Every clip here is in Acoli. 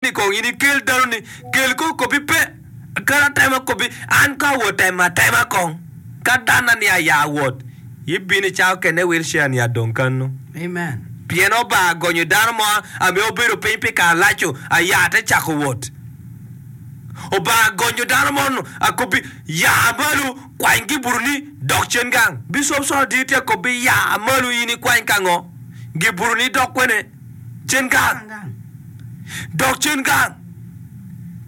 ni kong in ikel danoni, kel kong kopi pe, kel atema kopi, an ka awot temo atema kong, ka danna ni aya awot, ibino i cawa okene wheelchair ni adong kanu. Amen. Pien Obanga gonyo dano mo ame obedo piny pi kare laco aya te cako wot. Obanga gonyo dano mo nu akobi ya malo kwany gibuto ni dok cen gang. Bicop Saul tye tye akobi ya malo in ikwany ka ngo? Gibuto ni dok kwene? Cen gang. Dok cen gang.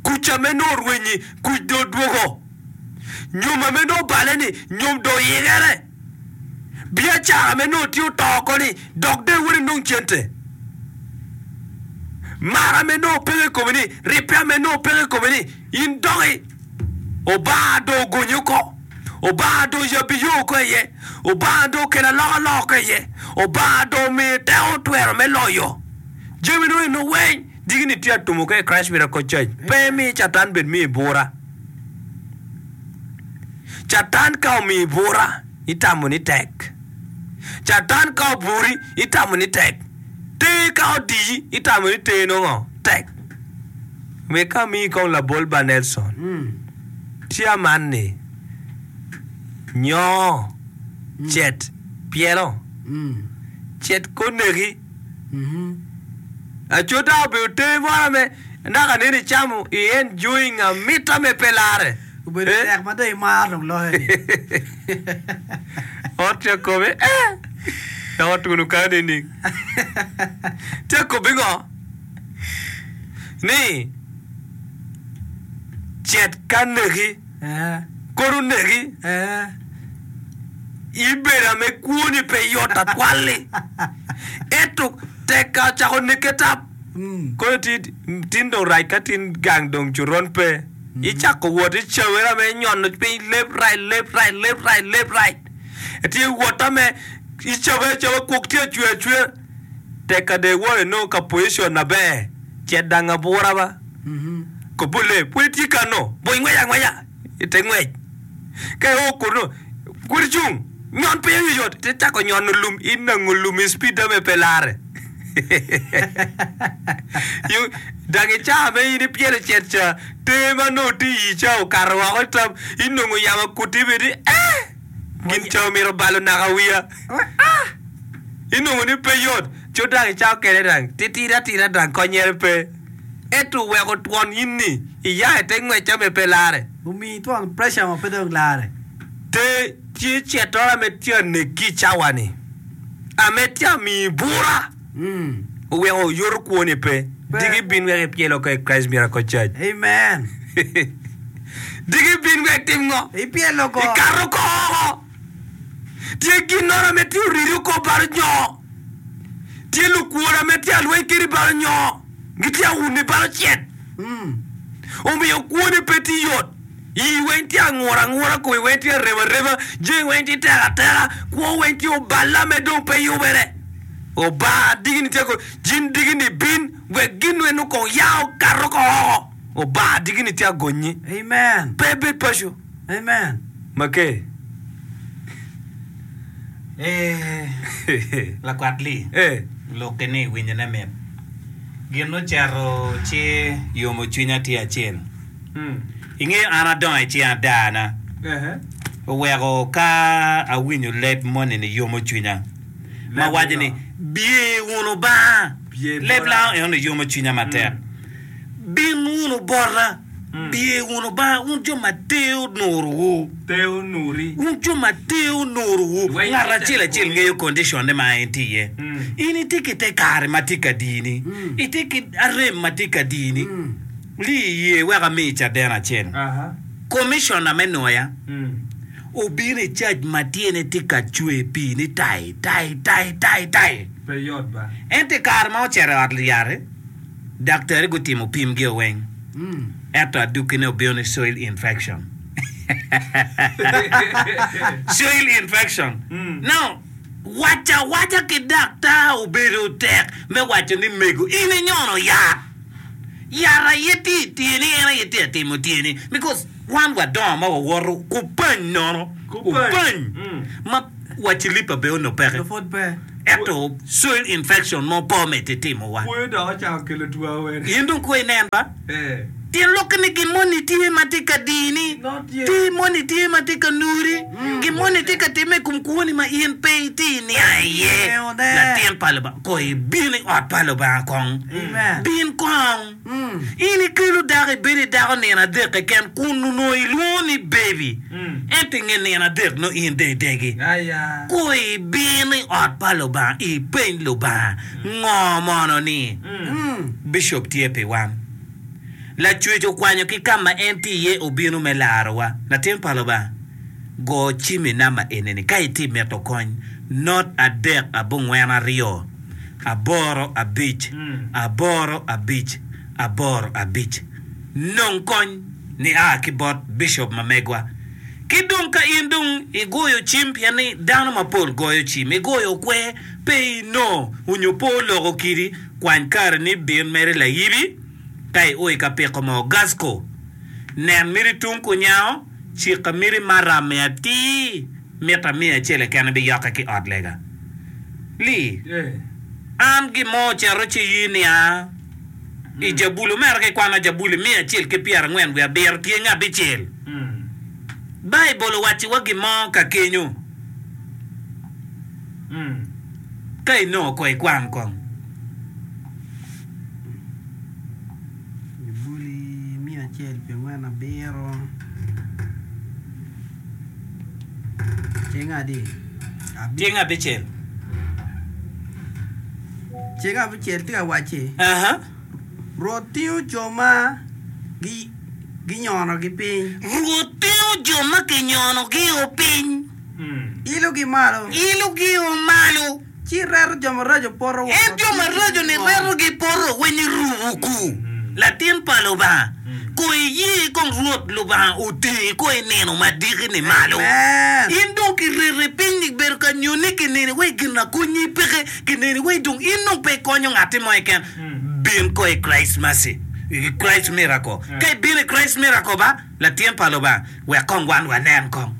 Kuc ame nongo orwenyi kuc dong odwogo. Nyom ame nongo obale ni nyom dong oyikere. Biacara me nongo tye oto oko ni dok dong iwot inong cente. Mar ame nongo peke i komi ni, ribbe ame nongo peke i komi ni, in doki Obanga dong ogonyi oko. Obanga dong oyabbi yo oko iye. Obanga dong okelo alokaloka oko iye. Obanga dong omiyi teko twero me loyo jami dong eno weng. Diki ni tye atumo ka i Christ Miracle Church. Pe imi Catan bed miyi bura. Catan ka omiyi bura, itamo ni tek. Catan ka oburi, itamo ni tek. Ter ka odiyi, itamo ni ter nongo tek. Wek ka amiyi kong labol ba Nelson. Tye aman ni, nyo, cet, pyelo. Cet koneki. Aco ta obedo ter moro ame naka nene icamo i enjoying amita me pe lare. Obedo tek ma dong imaro dong loyo ni. Ot tye akobe eh dok otuno kany nining? Tye akobe ngo? Ni cet ka neki kodi oneki ibedo ame kwoni pe yot atwal-li ento tek ka ocako neke tap kono tin dong rac ka tin gang dong coron pe. Icako wot icawere ame inyono piny left right left right left right left right itye wot ame icabe acaba kwok tye acwer acwera tek ka dong iwoto inongo ka position maber cet dang abura ba kobole pud itye kano bwony ngwec angweca ite ngwec ka io kunu pud icung nyon piny oyoyot ite cako nyono lum inango lum i speed ame pe lare. Dok i cawa ma in ipyelo cet ca, ter ma nongo tye i ii ca okato woko i tam, inongo yamo akuti bene ni, Eh! Gin ca omito balo naka wiya. Inongo ni pe yot. Co dok i cawa okene dang titidi atida dang konyere pe. Ento oweko twon in ni iya i te ngwecca me pe lare. Omiyi twon pressure ma pe dong lare. Ter tye cettora me tye anekki i cawa-ni. Ame tye amiyi bura oweko oyoto kwoni pe. Diki bin wek ipyel oko i Christ Miracle Church. Amen. Diki bin wek itim ngo? Ipyel oko. Ikato oko oko. Tye ginnoro ame tye oridi oko balo nyo. Tye lukwor ame tye alweny kedi balo nyo. Gitye auni balo cet. Omiyo kwoni pe tye yot. Ii weng tye angura angura, komi weng tye arem arema, jami weng tye tek ateka, kwo weng tye oballa me dong pe yubere. Obanga digi ni tye ko, jin digi ni bin wek gin weng kong ya okato ko oko. Obanga digi ni tye agonyi. Amen. Pe ibed paco. Amen. Make. Ee, lakwat Lee, Eh. lokki ni winyone mit. Gin ocito ci yomo cwinya tye acel. Ingeyo an adongo i cing adana, oweko ka awinyo leb moni-ni yomo cwinya, ma waco ni, 'Biye wunu banga. Leb lango enoni yomo cwinya matek. Bin wunu bota, biye wunu banga, wun jo ma ter onurowu. Wun jo ma ter onurowu. Ngat acel acel ngeyo condition-ne ma en tye iye. In itye ki te kare ma tye ka dini, itye ki arem ma tye ka dini. Li iye wek ami caden acel. Komicona me Noya obino i cac ma tyene tye ka cwer pii ni tai, tai, tai, tai, tai. Ento i kare ma ocito i ot yat-ti, daktari gutimo pimgi weng, ento adukkine obino ni soil infection. Soil infection. Now, waco awaca ki daktar obedo tek me waco ni mego in inyono yat. Yat aye tye i tyeni, en aye tye ka timo tyeni because wan wadongo ma wawoto kupany nono, kupany ma wa cilipa bene onongo peke. Ento soil infection mo pe omedde timowa. Kwoyo dok ocako kelo two awene. In dong kwo inen ba? Tyen lokke ni gin moni tye ma tye ka dini, tye moni tye ma tye ka nuri, gin moni tye ka timme i kom kwoni ma in pe itye niang iye. Latin pa Lubanga, ko ibin i ot pa Lubanga kong. Bin kong. In ikelo dako ibedo i dako nino adek keken kun onongo ilwongo ni baby, ento i nge nino adek nongo in dong idegi. Ku ibin i ot pa Lubanga ipeny Lubanga ngo mono ni bicop tye pi wan. Lacwec okwanyo ki ka ma en tye iye obino me larowa. Latin pa Lubanga, go cim i namba eni-ni ka itye mito kony, not adek abongwen aryo. aboro abic, aboro abic, aboro abic. Nong kony nia ki bot bicop ma megwa. Ki dong ka in dong igoyo cim pien ni dano mapol goyo cim, igoyo okwer pe inongo onyo pe oloko kidi, kwany kare ni bin mere layibi ka io i ka piko moo gasco. Nen miti tung kunyango, cika miti maram-mi atir. Mito amiya acel keken ibiyokke ki ot lega. Li, an gin mo ocito ci iyi nia i Jabuli, omera ka ikwano Jabuli miya acel ki pyerangwen wiye abiro tyenge abicel. Baibul owacciwa gin mo ka kenyo. Ka inongo ko ikwan kong. Jabuli miya acel pyerangwen abiro. Ceng adi? Ceng abicel. Ceng abicel tye ka wacci, Rwot tingo jo ma ginyonogi piny. Rwot tingo jo ma kinyonogi-o piny. Ilogi malo. Ilogi-o malo. Ci reto jo maraco poto woko. En jo maraco-ni retogi poto weng i ruku. Latin pa Lubanga, ko iye kong Rwot Lubanga otingi ko i nino madiki-ni malo. In dong kireti piny ni bedo ka nyoni kineni wai gin akonyi peke, kineni wai dong in dong pe ikonyo ngatti mo keken. Bin ko i Christ Mercy, i Christ Miracle. Ka ibino i Christ Miracle ba, Latin pa Lubanga, wek kong wan wanen kong.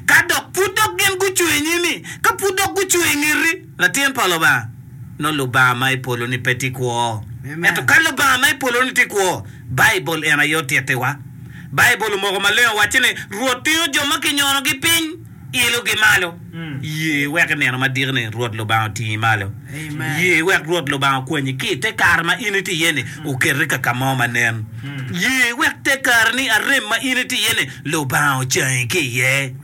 Ka dok pud dok gin gucung i nyimi, ka pud dok gucung i ngeti, latin pa Lubanga, nongo Lubanga ma i polo-ni pe tye kwo. Ento ka Lubanga ma i polo-ni tye kwo, Baibul en aye otittiwa. Baibul omoko maleng owacci ni, Rwot tingo jo ma kinyonogi piny, ilogi malo. Ye wek i nino madiko-ni Rwot Lubanga otingi malo. Ye wek Rwot Lubanga okwanyi ki i te kare ma in itye iye-ni, oketi ka ka mo ma nen. Ye wek te kare-ni arem ma in itye iye-ni, Lubanga ocangi ki iye.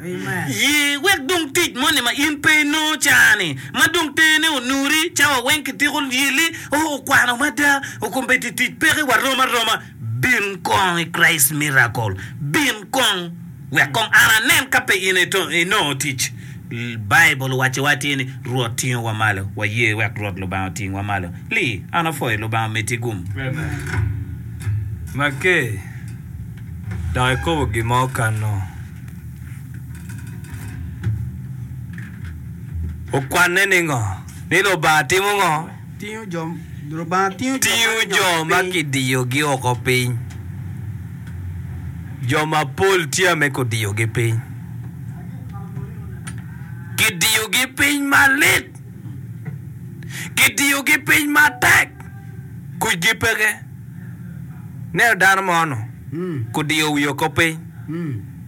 Ye wek dong tic moni ma in pe inongo ca-ni, ma dong tene onuri, cawa weng kitiko yelli, oo, okwano mada, okombeddi tic peke warom aroma. Bin kong i Christ Miracle. Bin kong wek kong an anen ka pe in inongo tic. Baibul owacciwa atir ni, Rwot tingowa malo. Waye wek Rwot Lubanga otingwa malo. Lee, an apwoyo Lubanga omeddi gum. Maker dok ikobo gin ma okano. Okwanne ni ngo? Ni Lubanga timo ngo? Tingo jo, Lubanga tingo jo Tingo ma jo kinyonogi ma piny. kidiyogi oko piny. Jo mapol tye ame kudiyogi piny. Kidiyogi piny malit. Kidiyogi piny matek. Kucgi peke. Ineno dano mo-nu kudiyo wiye oko piny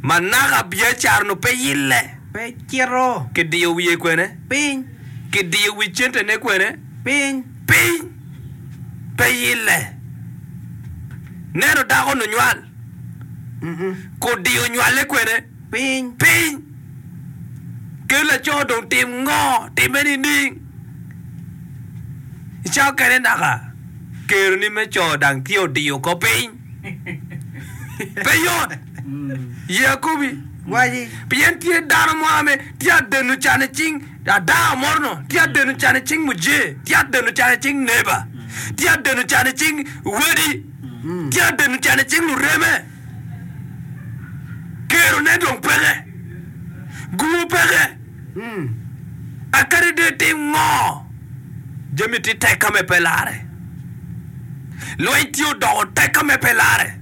ma naka biacara-nu pe yille. Pe cito. Kidiyo wiye kwene? Piny. Kidiyo wi centene kwene? Piny. Piny. Pe yille. Neno dako-nu nywal. Kudiyo nywale kwene? Piny. Piny. Kel laco dong tim ngo? Timme nining? I cawa okene naka keroni me co dang tye odiyo oko piny. Pe yot. Ye akobi. Waci. Pien tye dano mo ame tye adeno can i cing adaa moro-nu, tye adeno can i cing muje, tye adeno can i cing neba, tye adeno can i cing wadi, tye adeno can i cing lureme. Kerone dong peke, gumo peke. Akadi dong itim ngo, jami tye tek ka me pe larre. Lweny tye odoko tek ka me pe larre.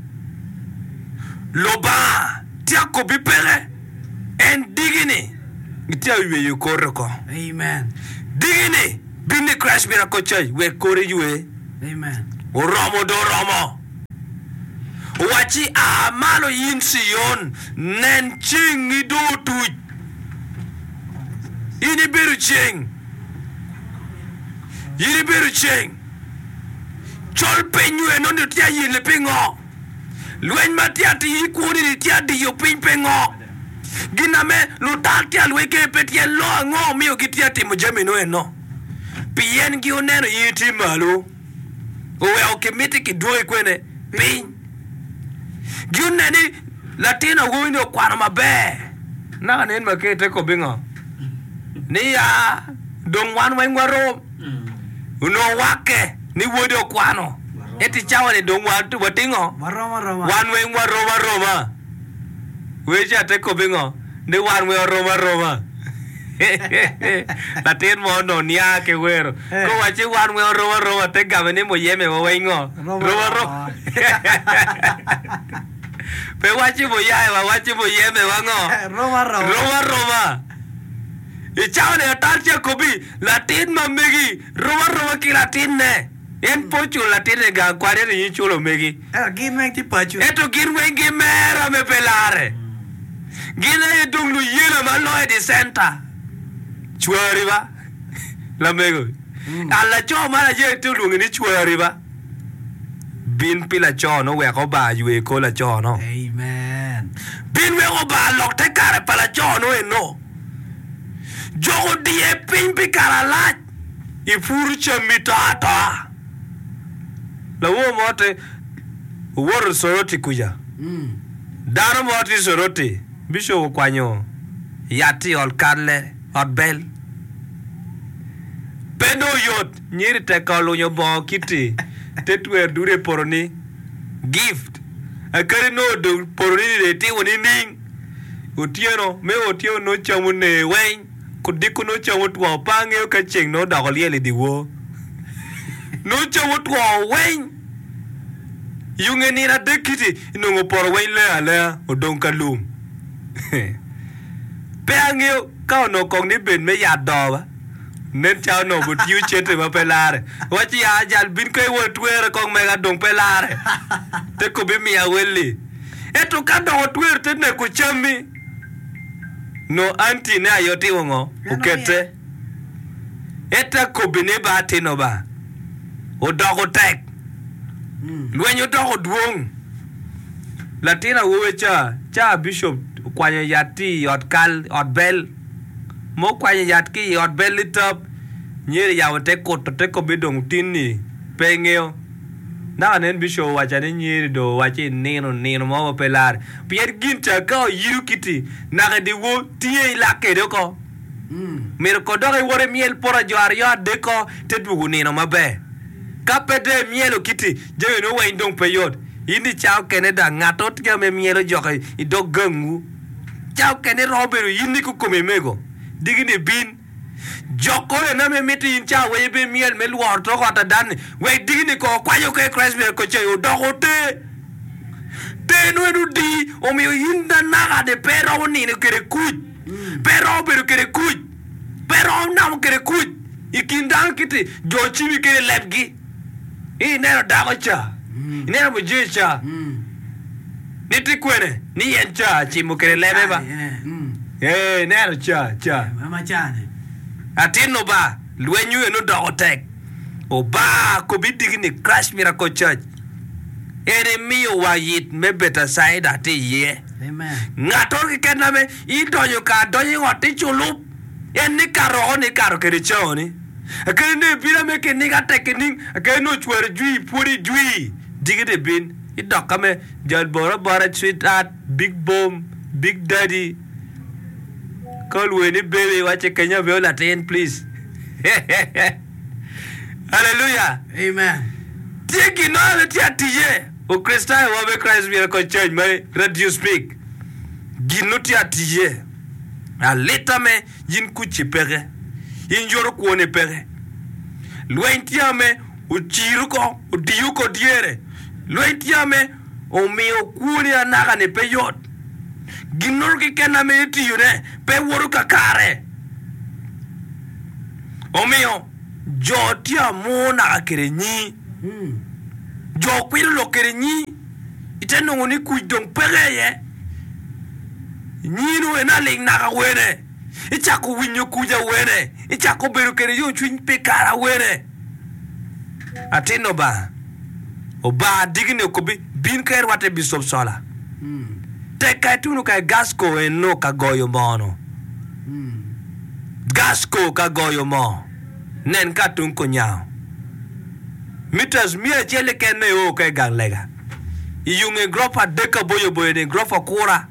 Lubanga tye akobi peke, en digi-ni gitye ka yweyo kore oko. Amen. Diki-ni, bin i Christ Miracle Church wek kori ywe. Oromo dong oromo. Owacci, A malo in Cion, nen cengngi dong otuc. In ibedo ceng. In ibedo ceng. Col piny nyo enoni tye ayelle pingo? Lweny ma tye atir i kwoni-ni tye adiyo piny pingo? Gin ame lutal tye alweny kede pe tyen lok ango omiyo gitye atimo jami nu eno? Pien gi oneno in itye malo, oweko kimiti kidwoki kwene piny. Gi oneno ni latin awobi ni okwano maber, naka nen ma kite kobi ngo? Ni ya dong wan weng warom. Onongo wakke ni wode okwano, ento i cawa ni dong watingo? Wan weng warom aroma. Weche ate kobbe ngo? Ni wan weng warom aroma. Latin mo onongo nia ki wero. Ka owacci wan weng warom aroma, te game ni muyeme wa weng ngo? Rom aroma. Pe wacci muyaye wa, wacci muyeme wa ngo? Rom aroma. I cawa ni atal ci akobbi, latin ma megi rom aroma ki latinne. En pe oculo latinne i gang kwan ento in iculo megi. Ento gin weng tye paco. Ento gin weng gimera me pe larre. Gin aye dong luyela ma loyo i centa. Cwari ba, lamego. A Laco man aye tye olwonge ni cwari ba. Bin pi laco-nu wek Obanga ywe kor laco-nu. Amen. Bin wek Obanga lok te kare pa laco-nu eno. Jok odiye piny pi kare alac. Ipuro cammi to atoa. Lawor mo te owoto Soroti kuca. Dano mo tye Soroti, bicop okwanyo yat i ot kalle, ot bel. Pe dong oyot, nyeri tek ka olunyo bongo kiti te twer dude i poto-ni. Gift. Akadi nongo dong poto-ni ni dong itimo nining? Otyeno me otyeno nongo cam oner weng. Odiko nongo cam otwo, pe angeyo ka ceng nongo odoko lyel i dyewor. Nongo cam otwo weng. Yo nge nino adek-ki-ti, inongo opoto weng leng alenga, odong ka lum. Pe angeyo ka onongo kong ni bed me yat doo ba. Nen calo onongo butiyo cente ma pe larre. Wacci ya jal bin ka iwot itwere kong mega dong pe larre. Te kobi miya welli. Ento ka dok otwero te neko cammi, nongo anti ne aye otimo ngo? Okette. Ento akobbi ni ba atino ba, odoko tek. Lweny odoko dwong. Latin awobe ca, ca bishop okwanyo yat ti i ot kal, ot bel. Ma okwanyo yat ki i ot bel litap, nyeri yabo te kuto te kobbi dong tin-ni pe ingeyo. Naka nen bishop owaca ni nyeri dong owacci inino nino mo ma pe lare. Pien gin ca ka oyido kiti naka i dyewor tye ilak kede oko. Myero ko dok iwot imyel poto jo aryo adek-ko te dwogo nino maber. Ka pe dong imyelo kiti jami nongo weng dong pe yot. In i ca okene dong angato tye me myelo jok i dog gangwu. Ca okene romo bedo in ni kikomi mego diki ni bin. Jok kore na me miti in ca weng ibi myel me lworo tok ot adan-ni wek diki ni ko okwanyo ke Christ myero ko ceng odoko te. Te nongo en odi omiyo in na naka ni pe iromo nino kede kuc. Pe iromo bedo kede kuc. Pe iromo namo kede kuc i kin dano kiti jo cimi kede lebgi. Ineno dako ca, ineno mujee ca, ni tye kwene ni en ca acimo kede lebe ba. Ee, ineno ca, ca. Atinno ba, lwenywu en odoko tek. Oba kobi diki ni Christ Miracle Church en imiyo wa yit me Betacaida tye iye. Ngatoro keken ame idonyo ka adonyo i ot iculup en ni kato oko ni ikato kede caoni. Akene nongo ibino ame kiniga tek kining, akene nongo ocwero jwi pwodi jwi diki di bin idok ka me jal boro abora sweetheart, big bom, big daddy ka olwongi ni baby iwacce kenya abedo latin please Hallelujah. Amen. Tye gin mo ame tye atiye Okricitayo wa me Christ Miracle Church ma Radio Speak gin no tye atiye alita me In kucci peke, in yoto kwoni peke. Lweny tye ame ociro oko, odiyo oko dyere. Lweny tye ame omiyo kwoni anaka-ni pe yot. Ginnoro keken ame itiyone pe woto kakare. Omiyo jo tye amur naka kwede nyi. Jo kwilo lok kwede nyi, ite nongo ni kuc dong peke iye. Nyi-nu en aling naka wene, icako winyo kuc awene, icako bedo kwede yomcwiny pi kare awene. Atin Lubanga, Obanga diki-ni okobbi, bin ka irwatte i Bicop Cola. Tek ka ituno ka i Gasco eno ka goyo moo-nu. Gasco ka goyo moo. Nen ka tung kunyango. Meters miya acel keken me o ka i gang lega. I yo nge gurofa adek aboyo boyo ni gurofa kura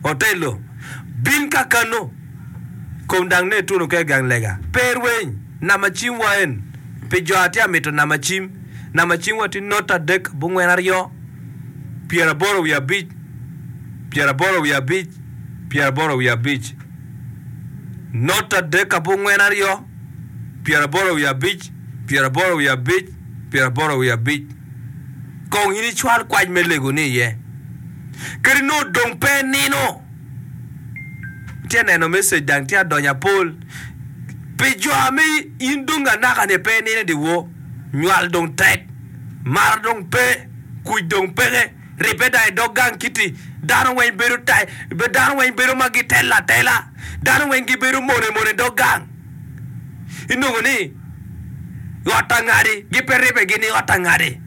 otello. Bin ka kano kom dang ne ituno ka i gang lega. Pe irweny namba cim wa en pi jo atye amito namba cim. Namba cim wa tye note adek abongwen aryo pyeraboro wiye abic pyeraboro wiye abic pyeraboro wiye abic. Not adek abongwen aryo, pyeraboro wiye abic, pyeraboro wiye abic, pyeraboro wiye abic. Kong in icwal kwac me legoni iye. Kadi nongo dong pe inino, itye ka neno message dang tye ka donyo apol. Pi jo ame in dong anaka-ni pe inino i dyewor, nywal dong tek, mar dong pe, kuc dong peke. Ribbe dang i dog gang kiti dano weng bedo tai, dano weng bedo ma gitelo atela, dano weng gibedo mone mone i dog gang. Inongo ni ot angadi gipe ribbe gin i ot angadi.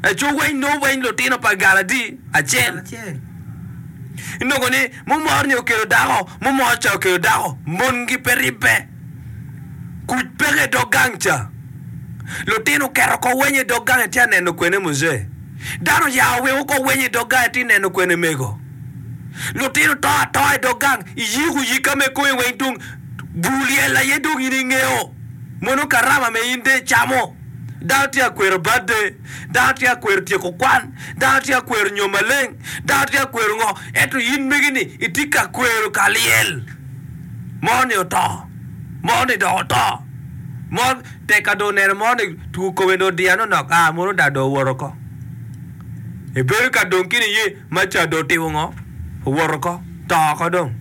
Eco weng nongo weng lutino pa gal adi? Acel. Inongo ni mumor ni okelo dako, mumor ca okelo dako, mongi pe ribbe. Kuc peke i dog gang ca. Lutino oketo oko weny i dog gang itye ka neno kwene muzee? Dano oya oweko oko weny i dog gang itye neno kwene mego? Lutino to atoa i dog gang iyiko yika me komi weng dong bur lyel aye dong in ingeyo mono karama me in dong icamo. Dano tye ka kwero birthday, dano tye ka kwero tyeko kwan, dano tye ka kwero nyom maleng, dano tye ka kwero ngo ento in megi ni itye ka kwero ka lyel. Mo ni oto, mo ni dok oto, mo tek ka dong oneno mo ni two kome dong odiya nonok aa mono dong dong owoto oko. Ebedo ka dong ki niye ma ca dong otimo ngo? Owoto oko, to oko dong.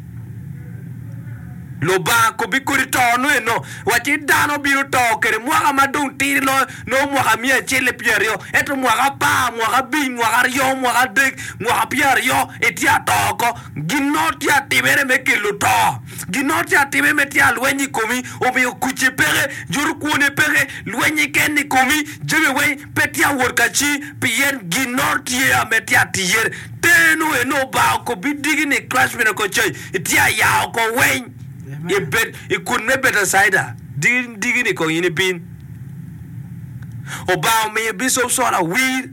Lubanga kobbi kodi to nongo eno, wacci dano bino to kede mwaka ma dong tidi loyo nongo mwaka miya acel ki pyeraryo, ento mwaka apar, mwaka abic, mwaka aryo, mwaka adek, mwaka pyeraryo itye ato oko. Gin mo tye atimere me kelo to. Gin mo tye atime me tye alweny i komi, omiyo kucce peke, juto kwone peke, lwennye ken i komi, jami weng pe tye awot ka ci, pien gin mo tye ame tye atiyere. Teno eno Obanga okobbi diki ni Christ Miracle Church itye aya oko weng i bet i kun me Betacaida diki diki ni kong in ibin. Obanga omiyo Bicop Sola wir.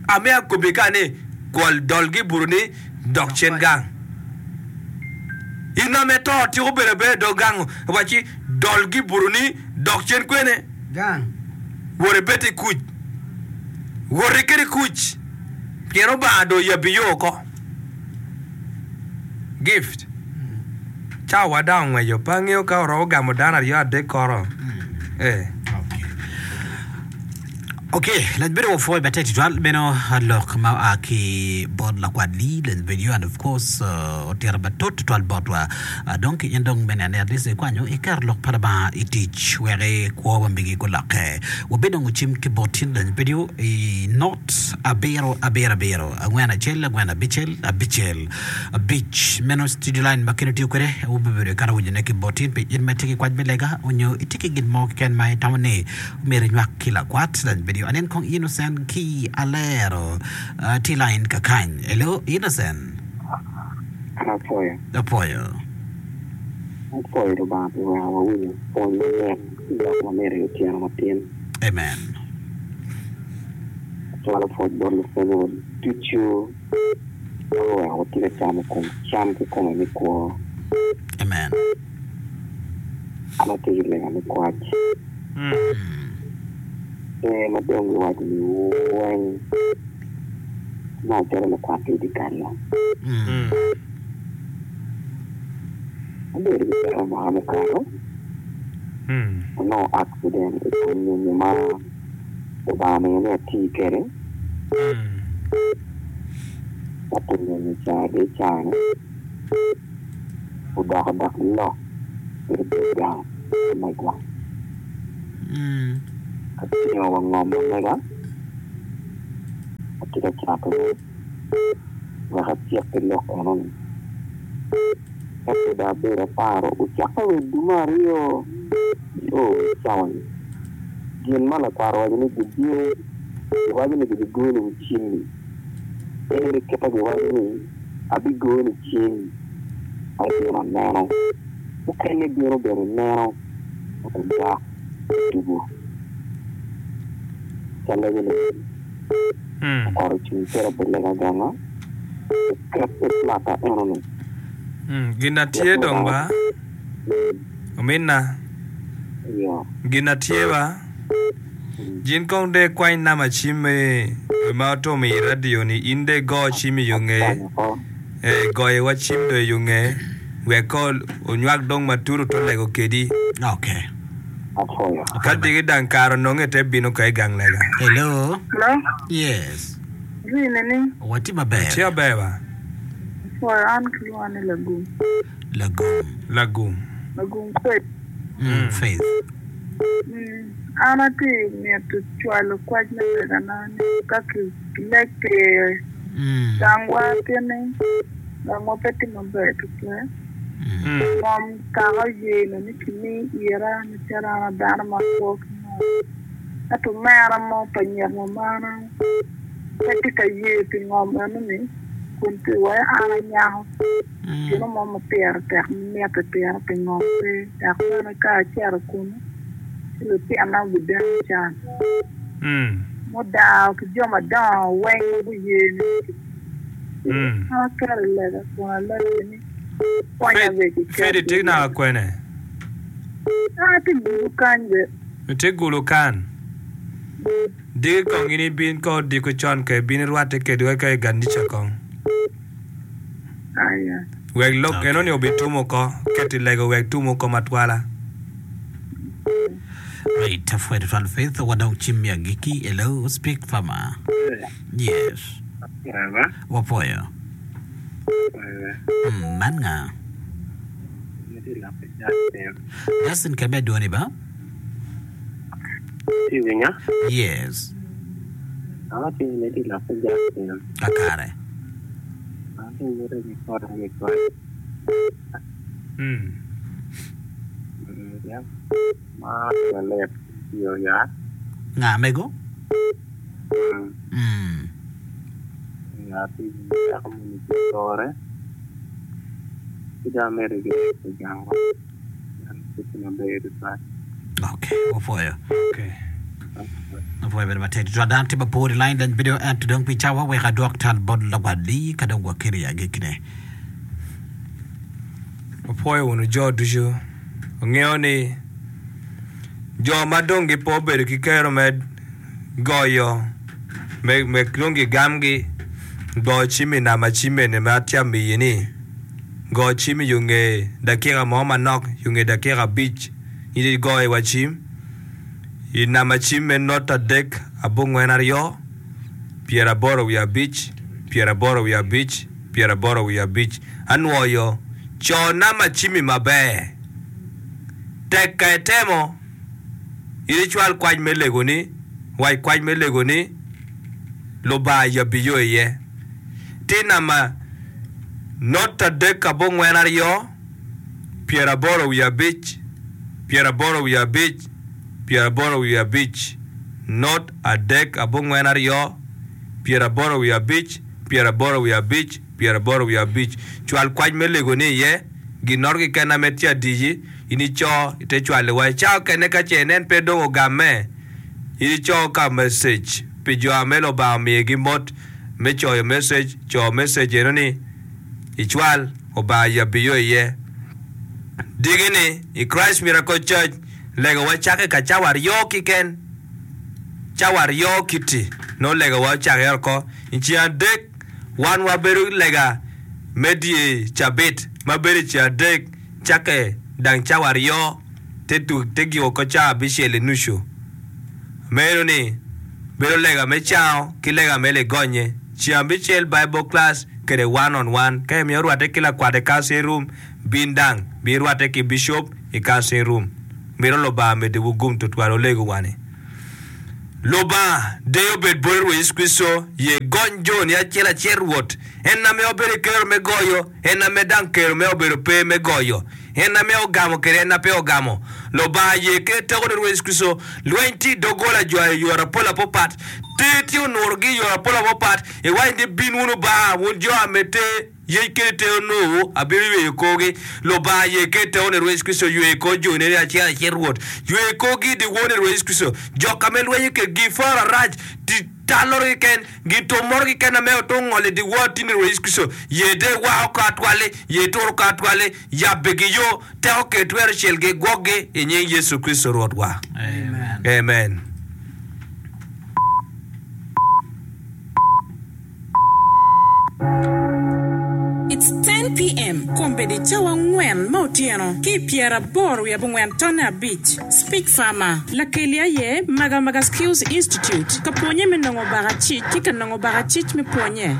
Ame akobbi ka ni, Gwol dolgi i buto ni, dok cen gang. In ame to tyeko bedo abeda i dog gang, wacci, Dolgi i buto ni, dok cen kwene? Gang. Wot ibed i kuc. Woti kede kuc, pien Obanga dong oyabbi yo oko. Gift. Cawa dong ongweco, pe angeyo ka oromo gamo dano aryo adek koro. Eh. Ok, lac bedo wapwoyo matek tutwal meno lok ma oa ki bot lakwat Lee lac video and of course uh, otito matut tutwal botwa. Uh, dong ki in dong bene ane at least ikwanyo iketo lok pa Lubanga i tic wek i kwo ma megi gulokke. Wabinongo cim ki bot tin lac video i not abiro abiro abiro angwen acel angwen abicel abicel abic meno studio line ma keno tiyo kwede wubibedo ikato winyone ki bot tin pi in ma itye ki kwac me lega onyo itye ki gin mo keken ma itamo ni Myero inywak ki lakwat lany video. Anen kong Innocent ki Alero uh, tye line kakany. Hello Innocent. An apwoyo. Apwoyo. Apwoyo Lubanga pi weko wawinyo pwony mamit ki lok mamit i otyeno matin. Amen. Acwalo pwoc bot lupwonyewa ducu ma guweko watye ka camo kom cam kikome me kwo. Amen. An atye ki lega me kwac. Ber ma dong giwaco ni weng ma acalo lakwat ki i dyekal-la. Abedo ki peko mwaka mukato, anongo accident i kom nyonyo ma Lubanga omiyo ni ati kwede. Ento nyonyo ca dong i caa-ni odoko dok lok i dog gang. ma megwa. Atingo wa ngom ma mega, atye ka catone wek atyek ki lok enoni. Ento dong abedo aparo ocakke wa i dume aryo nio wa i cawa-ni. Gin ma lakwaro owaco ni gibino, giwaco ni gibigoni wi cimmi. Ento kit ma giwaco ni abigoni cim, abino aneno. Mukene bino bene neno ento dok tugo. Ca lego ni lakwaro ocung cito pi lega ganga, oket i plata enoni. Gin atye dong ba, ominna. Gin atye ba. Gin kong dong ikwany namba cim me ma otum i radio ni in dong igo cim i yo ngeye. Ee, goyo wa cim dong i yo ngeye wek ko onywak dong matut oto lego kedi. Okay. Ka diki dang kare ononge te bino ka i gang lega. Hello. Hello. Yes. Ri nining? Watye maber. Tye aber ba. Apwoyo an kilwonga ni Lagum. Lagum. Lagum. Lagum Faith. Mm, Faith. Mm, an atye mito cwalo kwac me legana ni ka kileg pire Mm. gangwa tye-ni gangwa pe tye maber tutwal. Mm. Ngom kaka oyeno ni kimi ira macalo an a dano ma akwo ki ngom. Ento omera mo pa nyek mamana pe tye ka ye pi ngom enoni kun tye iwaci an anyako gin mo ma pire tek ma mitte pira pi ngom pe dok bene ka acito kunu ci lutinna gubideno can. Mudaro ki jo madongo weng ma guye ni ci an aketo i lega kun alego ni konya bene ki Faith itye naka kwene? An atye Gulu kany be. Itye Gulu kan? Diki kong in ibin ka odiko con ka ibin irwatte kedwa ka i ganica kong. Aya. Wek lok eno ni obitum oko, ket i lego wek tum oko matwala. Right, apwoyo tutwal Faith, wadok cim me agikki. Hello, speak farmer. Yes. Wapwoyo. Mm, man nga? Justin kebe dwoni ba? Itye winya? Yes. Awaco ni medde i lok ki Justin. Kakare. An imito ki kota ki koc. Ma lalet tiyo yat. Nga mego? Mm. Yat i peko moni tye kore. Ci dong amedde ki i gangwa. Ok, wapwoyo. Wapwoyo bedo matek tutwal. Dano tye mapol i line lany video ento dong pi cawa wek adwok tal bot lakwat-li ka dong wakelo i agikkine. Wapwoyo wunu jo ducu. Wangeyo ni jo ma dong gipe obedo ki kero me goyo me dong gigamgi go cim i namba cim eni ma atye amiyi-ni. Go cim i yo nge dakika mo manok, yo nge dakika abic, in igoyo wa cim i namba cim me not adek abongwen aryo, pyeraboro wiye abic, pyeraboro wiye abic, pyeraboro wiye abic. Anwoyo, co namba cimmi maber. Tek ka itemo, in icwal kwac me legoni, wac kwac me legoni, Lubanga yabbi yo iye. Ti namba not 3 42 85 85 85, not 3 42 85 85 85. Cwal kwac me lego ni iye, ginoro keken ame tye adici, in ico ite cwale wa. I cawa okene ka ce inen pe dong ogamme, in ico ka message pi jo ame Lubanga omiyogi mot me coyo message, co message eno ni icwal, Obanga yabbi yo iye. Diki ni i Christ Miracle Church legawa cake ka cawa aryo kiken, cawa aryo kiti nongo legawa ocake oko. I ceng adek wan wabedo lega me dye cabit ma bedo i ceng adek cake dang cawa aryo te giko oko cawa abicel i nucu. Meno ni bedo lega me cango ki lega me ligonye. Ceng abicel Bible class kede one on one. Ka imito rwate ki lakwat i counseling room, bin dang. Bin rwate ki bishop i counseling room. Mito Lubanga meddiwu gum tutwal. Olego wani. Lubanga, deyo obed boti Rwot Yecu Kricito, ye gony joni acel acel Rwot, en ame obedo i kero me goyo, en ame dang kero me obedo pe me goyo, en ame ogamo kede en a pe ogamo. Lubanga ye kede tekoni Rwot Yecu Kricito, lweny tye i doggola jo i yore apol apopat, ter tye onurogi i yore apol apopat, iwaco ni bin wunu ba, wun jo ame ter. Yec kede te onongo abino yweyo korgi. Lubanga ye kede te one Rwot Yecu Kricito yweyo kor joni ni acel acel Rwot yweyo korgi i dyewor ni Rwot Yecu Kricito jok ka me lwenyo kedgi poro arac ti talloro keken gin tum moro keken ame otung ngolo i dyewor tin ni Rwot Yecu Kricito ye de wako kor atwalli ye turo kor atwalli yabbe gi yo teko kede twero celgi gwokgi i nying Yecu Kricito Rwotwa Amen. Amen. It's 10 PM, Kombeddi cawa angwen me otyeno ki i pyeraboro wiye abongwen tonne abic. Speech Farmer, Lakeli aye Magamaga Skills Institute, ka pwonye me nongo bakacic ki ka nongo bakacic me pwonye.